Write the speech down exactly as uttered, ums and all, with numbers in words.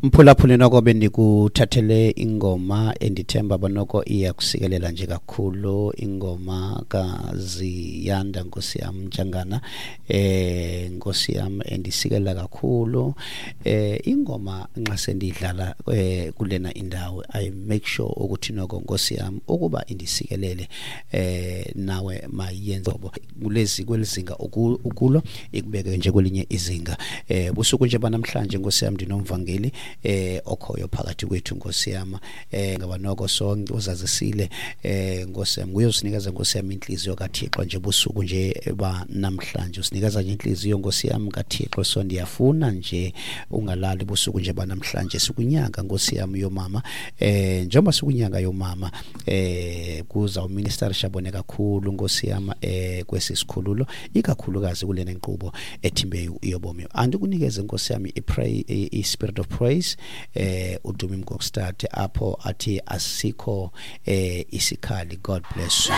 Mphulaphuli, noko bendikuthathele ingoma endithemba banoko iyakusikelela nje kakhulu, ingoma kaZiyanda, nkosi yam, Ntshangana, eh nkosi yam, endisikelela kakhulu. eh ingoma nxa sendidlala eh kulena indawo, I make sure ukuthi noko, nkosi yam, ukuba indisikelele, eh nawe mayenze kulezi kwelizinga ukulo, ikubeke nje kwelinye izinga. eh busuku nje banamhlanje, nkosi yam, ndinomvangeli eh okhoyo phakathi kwethu, nkosi yam, eh ngaba noko sonke uzazisile, eh nkosi yam, nguye usinikeza, nkosi yam, inhliziyo kaThixo nje busuku nje banamhlanje, usinikeza nje inhliziyo, nkosi yam, kaThixo. So ndiyafuna nje ungalali busuku nje banamhlanje. Sikunyanga, nkosi yam, yomama. eh njengoba sikunyanga yomama, eh kuza uMinister Shabone kakhulu, nkosi yam, eh kwesi sikhululo, ikakhulukazi kulena nkqubo ethimbe yobomi. Andikunikeze, nkosi yam, i-pray, i-spirit of praise, eh uDumi Mkokstad, apho athi asikho eh isikhali. God bless you.